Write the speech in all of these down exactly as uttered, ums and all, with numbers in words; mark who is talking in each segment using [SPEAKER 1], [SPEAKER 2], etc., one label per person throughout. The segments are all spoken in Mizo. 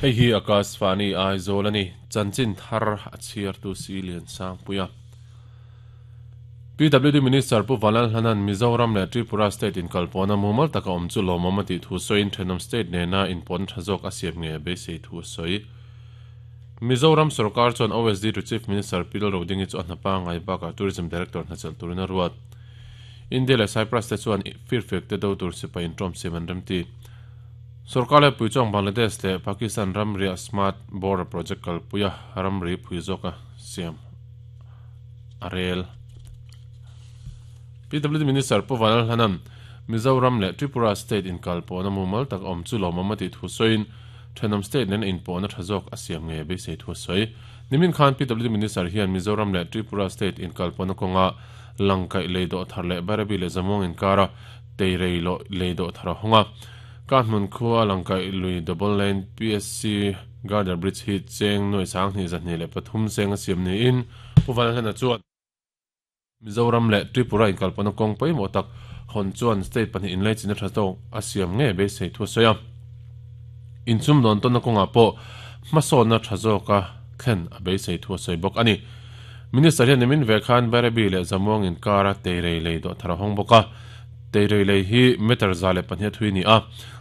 [SPEAKER 1] Hei hi Akashvani Aizawl ani chanchin thar a chhiar tu si lian sang puia P W D Minister Pu Vanlalhlanan Mizoram leh Tripura State in kalpawna mumal taka awm chu lawmawm a tih thu sawiin thenawm state nena inpawn tha zawk a siam nge beisei thu a sawi. Mizoram Sarkar chuan O S D to Chief Minister P Lalrodingi chu a hnapa ngai bakah Tourism Director hnachelh turin a ruat. India leh Cyprus te chuan firfek te do tur sipai intawm siam an remti. Sarkar leh puichuang Bangladesh leh Pakistan ramriah Smart Border Project kalpuia ramri phui zawka siam a rel. P W D Minister Pu Vanlalhlanan Mizoram leh Tripura State in kalpawna mumal tak awm chu lawmawm a tih thu sawiin thenawm state nen inpawhna tha zawk a siam nge beisei thu a sawi. Nimin khan P W D Minister hian Mizoram leh Tripura State in kalpawna kawnga langkaih lei dawh thar leh Bairabi leh Zamuang inkara teirei lo lei dawh thar a hawnga. Ka hmun khua langkaih lui double lane P S C Girder Bridge hi cheng nuai sang hnih zahnih leh pathum seng a siam niin Pu Vanlalhlana chuan Mizoram leh Tripura in kalpawna kawng pawimawh tak hawn chuan state pahnih inlai china tha zawk a siam nge beisei thu a sawi a. Inchum dawn tawnna kawngah pawh hmasawnna tha zawka thlen a beisei thu a sawi bawk ani. Minister hian nimin ve khan Bairabi leh Zamuang inkara teirei lei dawh thar a hawng bawk a. Teirei lei hi meter za leh pahnih a thui ni a.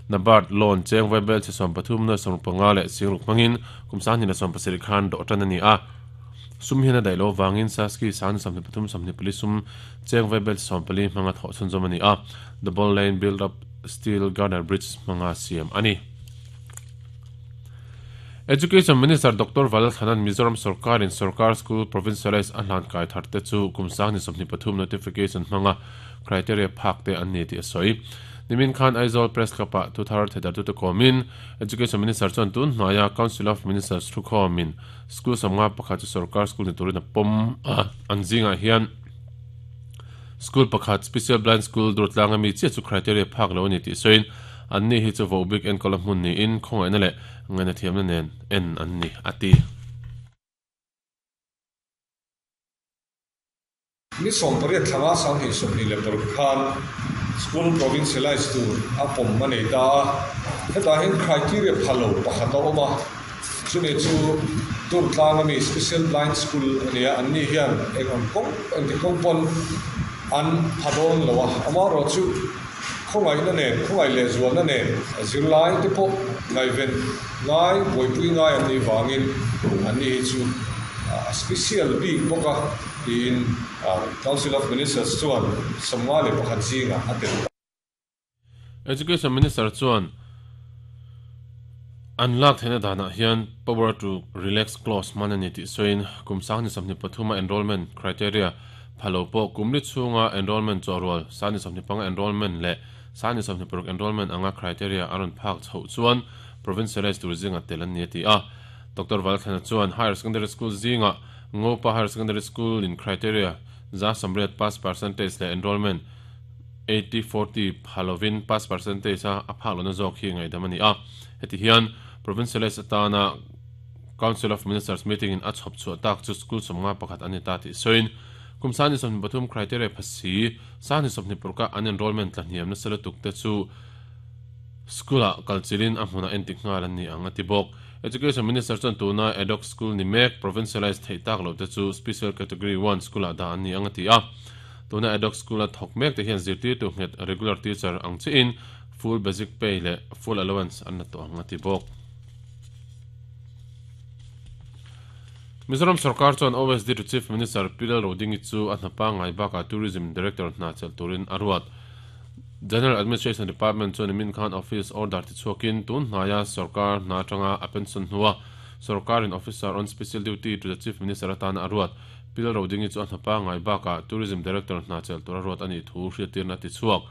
[SPEAKER 1] Nabard loan cheng vaibel che sawm pathum nuai sawm panga leh singruk hmangin kum sanghnih leh sawm pasarih khan dawh tan ani a. Sum hian a daih lo wangin Saski san sawmhnih pathum sawmhnih pali sum cheng vaibel sawm pali hmanga thawh chhunzawm ani a. Double lane build up steel girder bridge hmanga siam ani. Education Minister Doctor Vanlalthlana'n Mizoram Sarkar in Sarkar School Provincialized a hlan kai thar te chu kum sanghnih sawmhnih pathum notification hmanga criteria phak te an ni tih a sawi. Nimin khan Aizawl Press Club-ah thu thar thedar tu te kawmin Education Minister chuan tun hnuaia Council of Ministers thu khawmin school sawmnga pakhat chu Sarkar School ni turin a pawm a an zingah hian school pakhat Special Blind School durtlanga mi chiah chu criteria phak lo ani tih sawiin an ni hi chu vo bik enkawl a hmun niin khawngaihna leh ngaihna thiamna nen en an ni a ti.
[SPEAKER 2] Ni sawm pariat thlanga sanghnih sawmhnih leh paruk khan school provincialized tur a pawm a nei ta a. Hetah hian criteria phalo pakhat a awm a, chumi chu durtlanga mi Special Blind School ani a, an ni hian eng ang kawng engti kawng pawn an pha dawn lo a. Amaherawh chu khawngaihna nen khawngaih leh zualna nen zirlai te pawh ngaihven ngai buaipui ngai an nih wangin an ni hi chu a special bik bawk a tiin Council of Ministers chuan sawmnga leh pakhat zingah a tel ta.
[SPEAKER 1] Education Minister chuan an lak theihna danah hian power to relax clause hman ani tih sawiin kum sanghnih sawmhnih pathuma enrollment criteria phalo pawh kumli chhunga enrollment chawhrual sanghnih sawmhnih panga enrollment leh sanghnih sawmhnih paruk enrollment anga criteria a rawn phak chhoh chuan provincialized tur zinga tel an ni a ti a. Doctor Vanlalthlana chuan Higher Secondary School zinga Ngopa Higher Secondary School in criteria za sawmriat pass percentage leh enrollment eighty forty phalovin pass percentage a a phak lohna zawk hi ngaihdam ani a. Heti hian provincialized atana Council of Ministers meeting in a chhawp chhuah tak chu school sawmnga pakhat ani ta tih sawiin kum sanghnih sawmhnih pathum criteria phasi sanghnih sawmhnih paruka an enrollment tlahniamna sela tuk te chu school-ah kalchilin a hmunah entik nghal an ni ang a ti bawk. Education Minister chuan tuna ad hoc school ni mek provincialized theih tak lo te chu special category one school-ah dah an ni ang a ti a. Tuna ad hoc school a thawk mek te hian zirtir tu nghet regular teacher ang chiin full basic pay leh full allowance an la tawh ang a ti bawk. Mizoram Sarkar chuan O S D to Chief Minister P Lalrodingi chu a hnapa ngai bakah Tourism Director hna chelh turin a ruat. General Administration Department chuan nimin khan office order ti chhuakin tun hnaia Sarkar hna atanga a pension hnua Sarkarin Officer on Special Duty to the Chief Minister atana a ruat. P Lalrodingi chu a hnapa ngai bakah Tourism Director hna chelh tur a ruat ani thu hriattirna ti chhuak.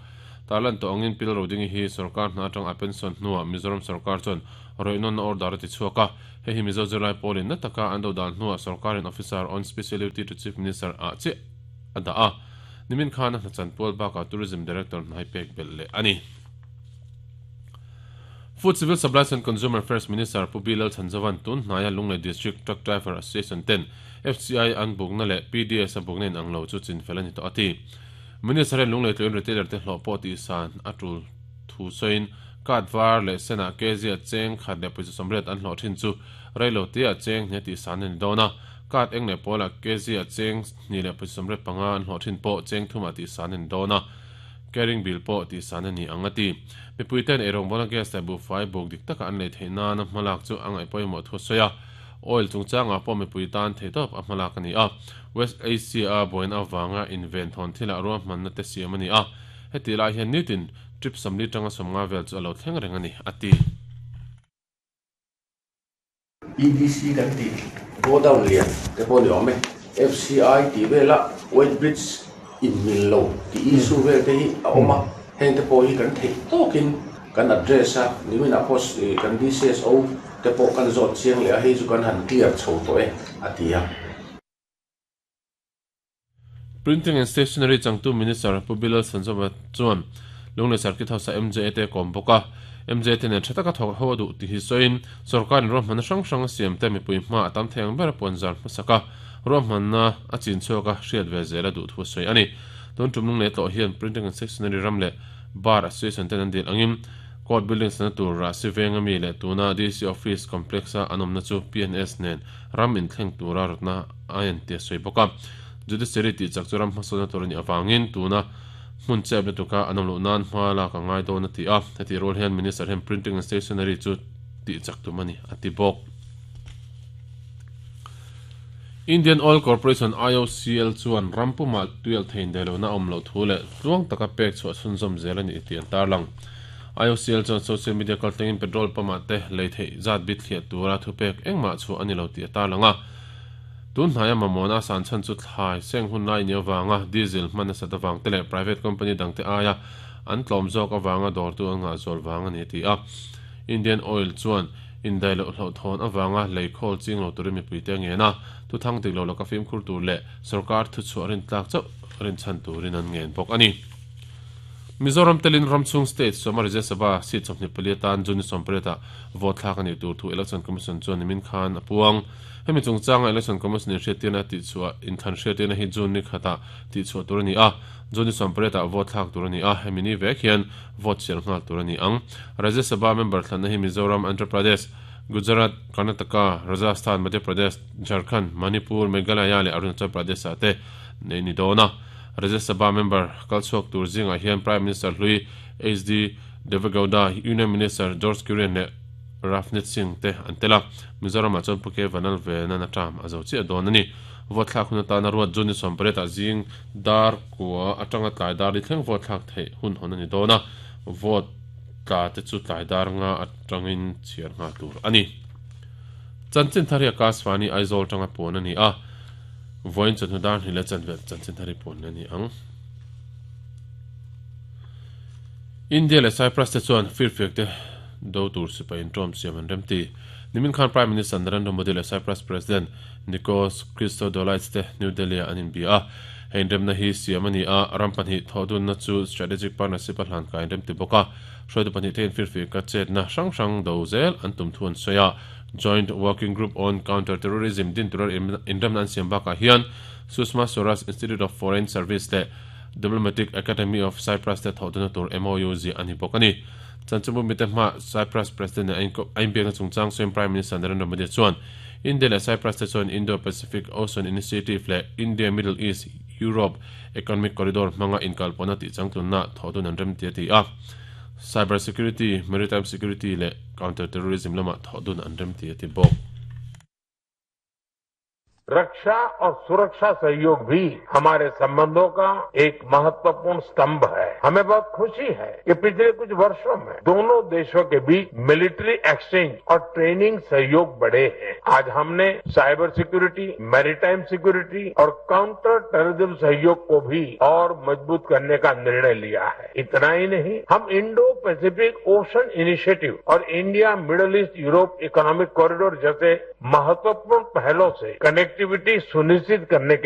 [SPEAKER 1] Tarlan tawh angin P Lalrodingi hi Sarkar hna atanga a pension hnua Mizoram Sarkar chuan roihnawn order ti chhuak a. Hei hi Mizo zirlai pawlin na taka an do dan hnua Sarkarin Officer on Special Duty to Chief Minister ah che a dah a. Nimin khan a hnachan pual bakah Tourism Director hnai pek bel leh ani. Food Civil Supplies and Consumer Affairs Minister Pu Bilal Chanzawan tun hnaia Lunglei District Truck Driver Association ten F C I an bukna leh P D S a bukna in ang lo chu chinfel ani tawh a ti. Minister hian Lunglei tluin retailer te hlawh pawh tih san a tul thu sawiin Card var leh senah kg a cheng khat leh pawisa sawmriat an hlawh thin chu reilo te a cheng hnih a tih san a ni dawn a. Card eng leh pawlah kg a cheng hnih leh pawisa sawmriat panga an hlawh thin pawh cheng thumah tih san a ni dawn a. Carrying bill pawh tih san a ni ang a ti. Mipuiten eirawng bawlna gas leh buhfai buk dik taka an lei theih nana hmalak chu a ngaih pawimawh thu a sawi a. Oil chungchangah pawh mipui tan theihtawp a hmalak a ni a. West Asia a buaina avanga inven thawn thilah ruahmanna te siam a ni a. Heti lai hian nitin trip sawmli tanga sawmnga vel chu a lo thleng reng a ni a ti.
[SPEAKER 3] E D C kan tih godown lian te pawh ni awm e. F C I tih vela weight bridge in mil lo tih issue vel te hi a awm a. Heng te pawh hi kan theih tawkin kan address a nimin ah pawh kan D C S O te pawh kan zawt chiang leh a, hei chu kan han clear chho tawh e a ti a.
[SPEAKER 1] Printing and Stationery changtu Minister Pu B Lalchhanzova chuan Lunglei Circuit House a M J A te kawm bawk a. M J A te nen tha taka thawk ho a duh ti hi sawiin sorkarin ruahmanna hrang hrang a siam te mipui hma a tam thei ang ber a puanzar hmasaka ruahmanna a chin chhuak a hriat ve zel a duh thu a sawi a ni. Tun tum Lunglei tlawh hian Printing and Stationery ram leh Bar Association ten an dil angin Court Building sana tur Rahsi venga mi leh tuna D C Office Complex a an awmna chu P N S nen ram inthleng tura rawtna a en ti a sawi bawk a. Judiciary tih chak chu ram hmasawnna tur a nih awangin tuna hmun chep na tuka an awm loh nan hma lak a ngai dawn a ti a. Heti rual hian Minister hian Printing and Stationery chu tih chak tum a ni a ti bawk. Indian Oil Corporation I O C L chuan rampuma tuial thein delona awm lo thu leh tluang taka pek chhuah chhunzawm zel a ni tih an tarlang. I O C L chuan social media kaltlangin petrol pump te lei theih zat bit thliah tura thupek engmah chu ani lo tih a tarlang a. Tun hnaia mamawhna san chan chu thlai seng hun lai ni awanga diesel hman nasa awang te leh private company dangte aia an tlawm zawk awanga dawrtu an ngah zawl wang ani ti a. Indian Oil chuan indai lo hlo thawn awanga lei khawl ching lo turin mipui te nge na thu thang dik lo laka fimkhur tur leh sarkar thu chhuah rin tlak chauh rin chan turin an ngen bawk ani. Mizoram telin ramchhung state sawma Rajya Sabha seat sawmhnih pali atan June sawmpariat vote thlak ani tur thu Election Commission chuan nimin khan a puang. Hemi chungchanga Election Commission in hriattirna tih chhuah inthlan hriattirna hi June ni khata tih chhuah tur ani a. June sawmpariat vote thlak tur ani a. Hemi ni vek hian vote chhiar nghal tur ani ang. Rajya Sabha member thlanna hi Mizoram, Andhra Pradesh, Gujarat, Karnataka, Rajasthan, Madhya Pradesh, Jharkhand, Manipur, Meghalaya leh Arunachal Pradesh ah te nei ni dawn a. Rajya Sabha member kalchhuak tur zingah hian Prime Minister hlui H D Devegowda, Union Minister George Kurian leh Ravneet Singh te an tela. Mizoram ah chuan Pu K Vanlalvena na term a zo chiah dawn ani. Vote thlak hun atana ruat June sawmpariat ah zing dar kua atanga tlai dar li thleng vote thlak theih hun hawn ani dawn a. Vote tla te chu tlai dar nga atangin chhiar nghal tur ani. Chanchin thari Akashvani Aizawl tanga puan ani a. Voin chawhnu dar hnih leh chanve chanchin thari puan ani ang. India leh Cyprus te chuan firfiak te do tur sipai in tawm siam an remti. Nimin khan Prime Minister Narendra Modi leh Cyprus President Nikos Christodoulides te New Delhi an inbia a. Hei remna hi siam ani a. Ram pahnih thawhdunna chu strategic partnership a hlan kai an remti bawk a. Hruaitu pahnih te in firfiak ka chetna hrang hrang do zel an tum thu an sawi a. Joint Working Group on Counter Terrorism din turar inremna an siam bakah hian Sushma Swaraj Institute of Foreign Service leh Diplomatic Academy of Cyprus te thawhdunna tur M O U ziah ani bawk ani. Chanchinbu mite hma Cyprus President a inbiakna chungchang sawiin Prime Minister Narendra Modi chuan India leh Cyprus te chuan Indo-Pacific Ocean Initiative leh India Middle East Europe Economic Corridor hmanga inkalpawhna tih changtlunna thawhdun an remti a ti a. Cyber security, maritime security leh counter terrorism lama thawhdun an remti a ti bawk.
[SPEAKER 4] रक्षा और सुरक्षा सहयोग भी हमारे संबंधों का एक महत्वपूर्ण स्तंभ है। हमें बहुत खुशी है कि पिछले कुछ वर्षों में दोनों देशों के बीच मिलिट्री एक्सचेंज और ट्रेनिंग सहयोग बढ़े हैं। आज हमने cyber security, maritime security और काउंटर टेररिज्म सहयोग को भी और मजबूत करने का निर्णय लिया है। इतना ही नहीं, हम Indo Pacific ocean initiative और India Middle East Europe Economic Corridor जैसे महत्वपूर्ण पहलों से कनेक्टिविटी सुनिश्चित करने के